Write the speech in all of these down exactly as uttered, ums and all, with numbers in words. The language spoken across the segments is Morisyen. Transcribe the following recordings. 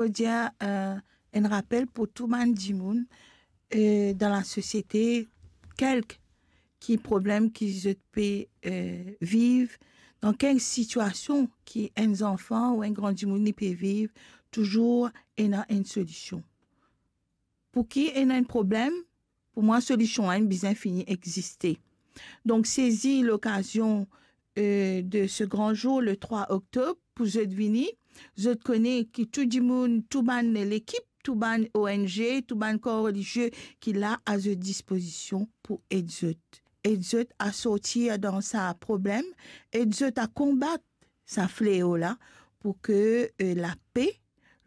Mo dir, eh, enn rapel pou tou bann dimoun, eh, dan lasosiete, kelke ki problem ki zot pe, eh, viv, dan kelke sitiasion ki enn zanfan ou enn gran dimoun li pe viv, touzour ena enn solision. Pou ki ena enn problem, pou mwa solision la inn bizin fini existe. Donk, sezi lokazion, eh, de se gran zour, le trwa oktob, pou zot vini. Zot kone ki tou dimoun, tou bann lekip, tou bann O N G, tou bann kor relizie ki la a zot dispozision pou ed zot. Ed zot a sortir dan sa problem, ed zot a konbat sa fleo la, pou ke, eh, lape,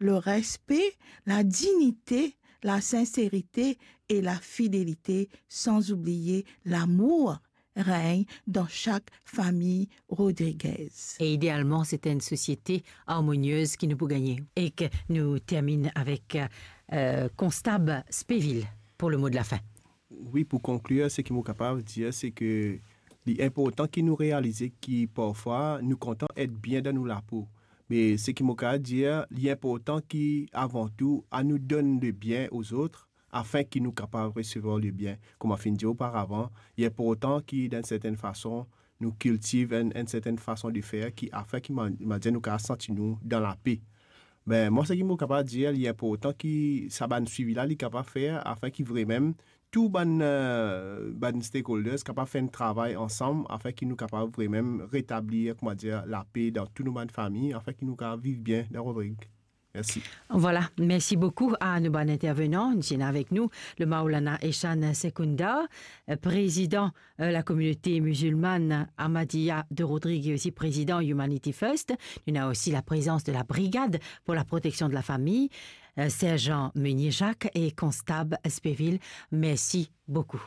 le respe, la dinite, la sinserite e la fidelite, san oubliye lamour, regn dan sak fami Rodriguez. E idealman, se enn sosiete armoniez ki nou pou gagne. E ke nou termine avek, eh, Konstab Speville pou le mo de la fin. Wi, pou konklir, seki mo kapav dir, se ke li inportan ki nou realize ki parfwa nou kontan et bien dan nou lapo. Me seki mo kapav dir, li inportan ki, avan tou, anou donn lebien ozot, afin ki nou kapav resevwar lebien. Kouma finn dir oparavan, li inportan ki, dan enn sertenn fason, nou kiltiv enn, enn sertenn fason de fer ki, afin ki, ma, ma dir, nou kapav santi nou dan lape. Be, mwa, seki mo kapav dir, li inportan ki sa bann swivi la, li kapav fer, afin ki vremem, tou bann, eh, bann stakeholders kapav fer enn travay ansam, afin ki nou kapav vremem retablir, kouma dir, lape dan tou nou bann fami, afin ki nou kapav viv bien dan Rodrig. Mersi. Vwala, mersi boukou a nou bann intervenan. Nou ti ena avek nou le Maulana Eshan Sekunda, eh, prezidan, eh, la kominote mizilmann Ahmadiyya de Rodrig e osi prezidan Humanity First. Nou ena osi la prezans de la Brigade pour la protection de la famille, eh, Serjan Meunier Jacques e Konstab Speville. Mersi boukou.